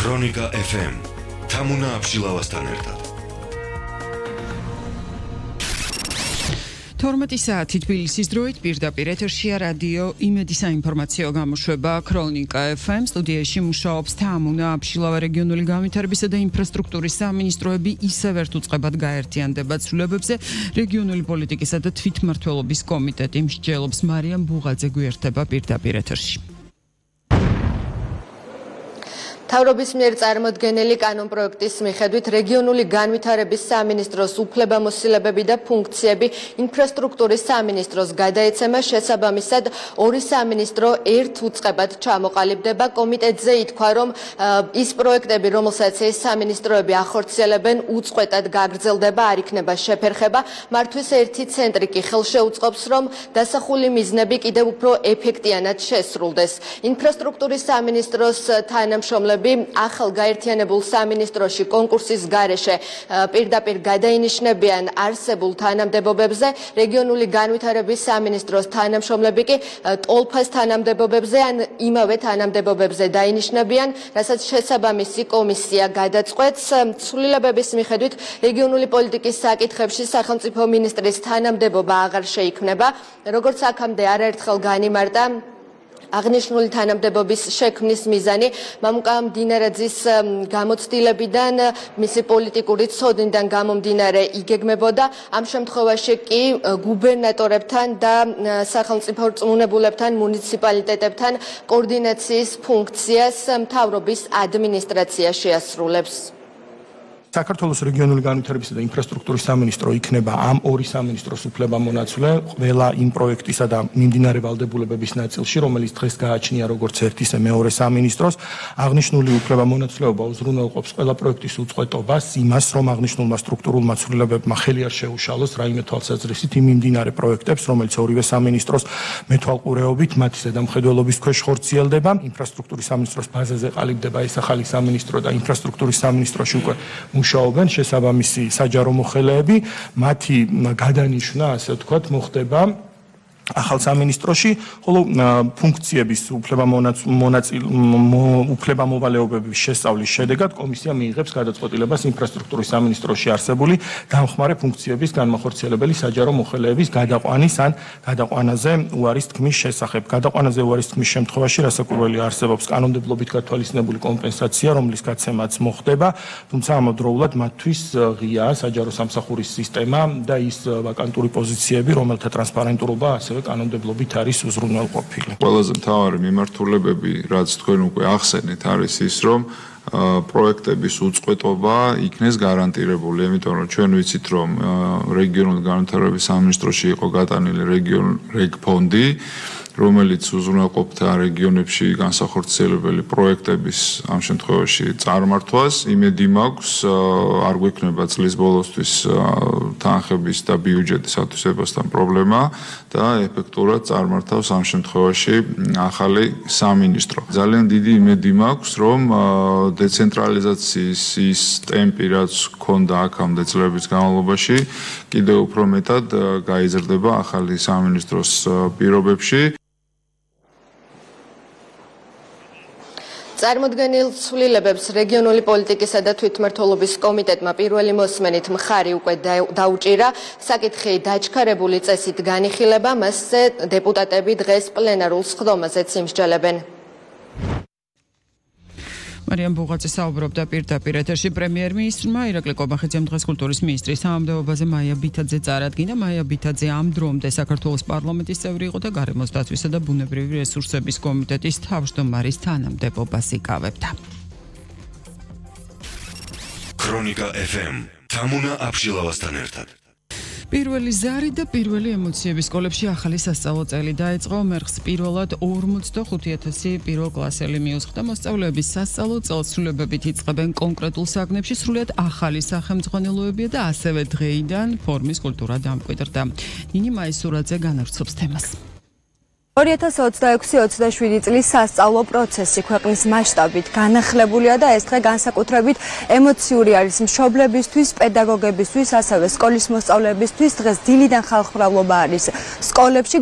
ქრონიკა FM თამუნა აბშილავასთან ერთად 12 საათი თბილისის დროით პირდაპირ ეთერშია რადიო იმედი საინფორმაციო გამოშვება ქრონიკა FM სტუდიაში მუშაობს თამუნა აბშილავა რეგიონული განვითარებისა და ინფრასტრუქტურის სამინისტროები ისევ ერთ უწყებად გაერთიანდება ცვლილებებზე რეგიონული პოლიტიკისა და თვითმმართველობის კომიტეტი მსჯელობს მარიამ ბუღაძე გვერდება პირდაპირ ეთერში თავრობის მიერ წარმოდგენილი კანონპროექტის მიხედვით რეგიონული განვითარების სამინისტროს უფლებამოსილებები და ფუნქციები ინფრასტრუქტურის სამინისტროს გადაეცემა შესაბამისად ორი სამინისტრო ერთ უწყებად ჩამოყალიბდება კომიტეტზე ითქვა რომ ის პროექტები რომელსაც ეს სამინისტროები ახორციელებენ უწყვეტად გაგრძელდება არ იქნება შეფერხება მართვის ერთი ცენტრი კი ხელშეუწყობს რომ დასახული მიზნები კიდევ უფრო ეფექტიანად შესრულდეს ინფრასტრუქტურის სამინისტროს თანამშრომლები ახალ გაერთიანებულ სამინისტროში კონკურსის გარეშე პირდაპირ გადაინიშნებიან არსებულ თანამდებობებზე რეგიონული განვითარების სამინისტროს თანამშრომლები კი ტოლფას თანამდებობებზე ან იმავე თანამდებობებზე დაინიშნებიან რასაც შესაბამისი კომისია გადაწყვეტს ცვლილებების მიხედვით რეგიონული პოლიტიკის საკითხებში სახელმწიფო მინისტრის თანამდებობა აღარ შეიქმნება როგორც აქამდე არაერთხელ განიმარტა აღნიშნული თანამდებობის შექმნის მიზანი მამუკა მდინარეძის გამოცდილებიდან მისი პოლიტიკური ცოდნიდან გამომდინარე იგეგმებოდა ამ შემთხვევაში კი გუბერნატორებთან და სახელმწიფო რწმუნებულებთან მუნიციპალიტეტებთან კოორდინაციის ფუნქციას მთავრობის ადმინისტრაცია შეასრულებს საქართველოს რეგიონული განვითარებისა და ინფრასტრუქტურის სამინისტრო იქნება ამ ორი სამინისტროს უფლებამონაცვლე ყველა იმ პროექტისა და მიმდინარე ვალდებულებების ნაწილში, რომელიც დღეს გააჩნია როგორც ერთ ისე მეორე სამინისტროს, აღნიშნული უფლებამონაცვლეობა უზრუნველყოფს ყველა პროექტის უწყვეტობას, იმას, რომ აღნიშნულმა სტრუქტურულმა ცვლილებებმა ხელი არ შეუშალოს რაიმე თვალსაზრისით იმ მიმდინარე პროექტებს, რომელიც ორივე სამინისტროს მეთვალყურეობით მათი ზედამხედველობის ქვეშ ხორციელდება, ინფრასტრუქტურის სამინისტროს ბაზაზე ყალიბდება ეს ახალი სამინისტრო და ინფრასტრუქტურის სამინისტროში უკვე მუშაობენ შესაბამისი საჯარო მოხელეები, მათი გადანიშვნა, ასე ვთქვათ, მოხდება ახალ სამინისტროში, ხოლო ფუნქციების უფლებამოვალეობების შესწავლის შედეგად კომისია მიიღებს გადაწყვეტილებას ინფრასტრუქტურის სამინისტროში არსებული დამხმარე ფუნქციების განმახორციელებელი საჯარო მოხელეების გადაყვანის ან გადაყვანაზე უარის თქმის შესახებ. გადაყვანაზე უარის თქმის შემთხვევაში რასაკვირველი არსებობს კანონმდებლობით გათვალისწინებული კომპენსაცია, რომლის გაცემაც მოხდება, თუმცა ამავდროულად მათთვის ღიაა საჯარო სამსახურის სისტემა და ის ვაკანტური პოზიციები, რომელთა ტრანსპარენტურობა ასევე კანონმდებლობით არის უზრუნველყოფილი. ყველაზე მთავარი მიმართულებები, რაც თქვენ უკვე ახსენეთ, არის ის, რომ პროექტების უწყვეტობა იქნეს გარანტირებული, იმიტომ რომ ჩვენ ვიცით, რომ რეგიონული განვითარების სამინისტროში იყო გატანილი რეგფონდი, რომელიც უზრუნველყოფდა რეგიონებში განსახორციელებელი პროექტების ამ შემთხვევაში წარმართვას. იმედი მაქვს, არ გვექნება წლის ბოლოსთვის თანხების და ბიუჯეტის ათვისებასთან პრობლემა და ეფექტურად წარმართავს ამ შემთხვევაში ახალი სამინისტრო. ძალიან დიდი იმედი მაქვს, რომ დეცენტრალიზაციის ის ტემპი, რაც ჰქონდა აქამდე წლების განმავლობაში, კიდევ უფრო მეტად გაიზრდება ახალი სამინისტროს პირობებში. წარმოდგენილ ცვლილებებს რეგიონული პოლიტიკისა და თვითმმართველობის კომიტეტმა პირველი მოსმენით მხარი უკვე დაუჭირა. საკითხი დაჩქარებული წესით განიხილება, მასზე დეპუტატები დღეს პლენარულ სხდომაზეც იმსჯელებენ. მარიამ ბუღაძე საუბრობდა პირდაპირ ეთერში პრემიერ-მინისტრმა ირაკლი კობახიძემ დღეს კულტურის მინისტრის თანამდებობაზე მაია ბითაძე წარადგინა. მაია ბითაძე ამ დრომდე საქართველოს პარლამენტის წევრი იყო და გარემოს დაცვისა და ბუნებრივი რესურსების კომიტეტის თავმჯდომარის თანამდებობას იკავებდა. ქრონიკა FM თამუნა აბშილავასთან ერთად პირველი ზარი და პირველი ემოციები სკოლებში ახალი სასწავლო წელი დაიწყო. მერხს პირველად 45,000 პირველ კლასელი მიუძღდა. მოსწავლეების სასწავლო წელს სრულებებით იწყებენ კონკრეტულ საგნებში, სრულიად ახალი სახელმძღვანელოებია და ასევე დღეიდან ფორმის კულტურა დამკვიდრდა. ნინი მაისურაძე განავრცობს თემას. 2026-27 წლის სასწავლო პროცესი ქვეყნის მასშტაბით განახლებულია და ეს დღე განსაკუთრებით ემოციური არის მშობლებისთვის, პედაგოგებისთვის, ასევე სკოლის მოსწავლეებისთვის. დღეს დილიდან ხალხმრავლობა არის სკოლებში,